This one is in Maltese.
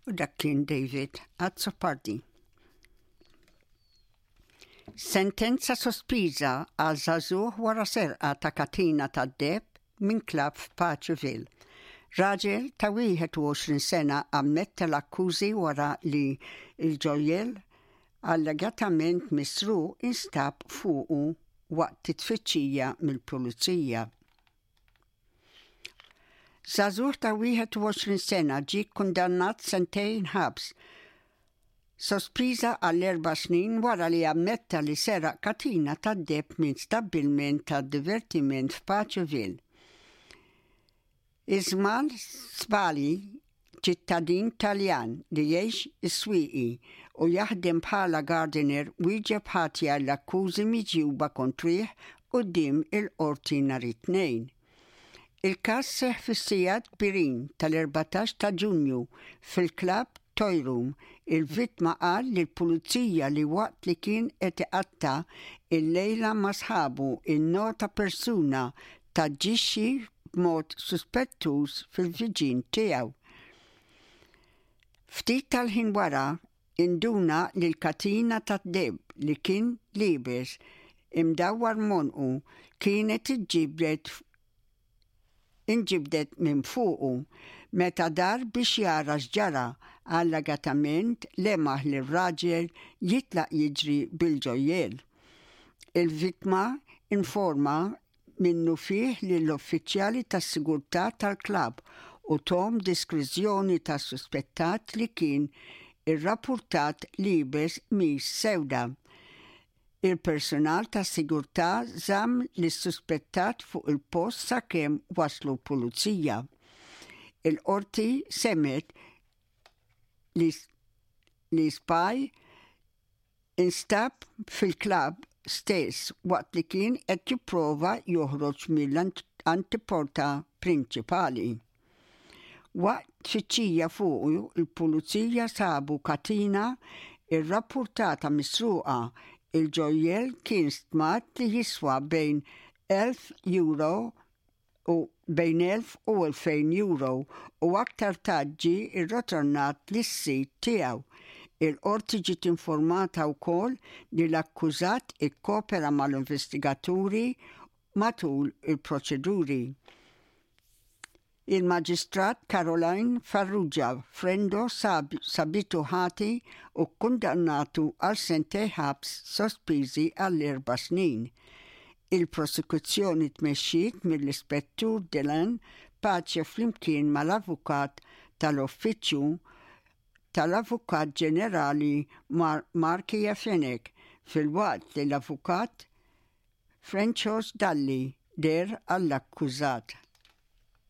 U dak kien David Azzopardi. Sentenza sospiża għal żagħżugħ wara serqa ta' katina tad-deheb minn klabb f'Paceville. Raġel ta' 21 sena ammetta l-akkużi wara li l-ġojjell allegatament misruq instab fuqu waqt tfittxija mill-pulizija. Żagħżugħ ta' 21 sena ġie kkundannat sentejn ħabs sospiża għal erba' snin wara li ammetta li seraq katina tad-deheb minn stabbilment ta' divertiment f'Paceville. Ismail Sbali, ċittadin Taljan li jgħix is-Swieqi u jaħdem bħala gardener wieġeb ħati għall-akkużi miġjuba kontrih quddiem il-Qorti nhar it-Tnejn. Il-każ seħħ fis-sigħat kbirin tal-14 ta' Ġunju fil-klabb Toy Room. Il-vittma qal lill-Pulizija li waqt li kien qed iqatta' l-lejla ma' sħabu nnota persuna taġixxi b'mod suspettuż fil-viġin tiegħu. Ftit tal-ħin wara induna li l-katina tad-deheb li kien liebes imdawwar m'għonqu kienet iġġibdet inġibdet minn fuqu. Meta dar biex jara x'ġara, allegatament lemaħ lir-raġel jitlaq jiġri bil-ġojjel. Il-vittma informa minnufih lill-uffiċjali tas-sigurtà tal-klabb u thom deskrizzjoni tas-suspettat li kien irrappurtat liebes qmis sewda. Il-persunal tas-sigurtà żamm lis-suspettat fuq il-post sakemm waslu l-pulizija. Il-Qorti semgħet li li Spy instab fil-klabb stess waqt li kien qed jipprova joħroġ mill-antiporta prinċipali. Waqt tfittxija fuqu, il-Pulizija sabu katina rrappurtata misruqa. Il-ġojjell kien stmat li jiswa bejn €1,000 u bejn 1,000 u 2,000 euro u aktar tard ġie rrotornat lis-sid tiegħu. Il-Qorti ġiet informata wkoll li l-akkużat ikkopera mal-investigaturi matul il-proċeduri. Il-Maġistrat Caroline Farrugia Frendo sabitu ħati u kkundannatu għal sentejn ħabs sospiżi għal erba' snin. Il-prosekuzzjoni tmexxiet mill-Ispettur Dylan Pace flimkien mal-Avukat tal-Uffiċċju tal-Avukat Ġenerali Markia Fenech filwaqt li l-Avukat Francois Dalli deher għall-akkużat.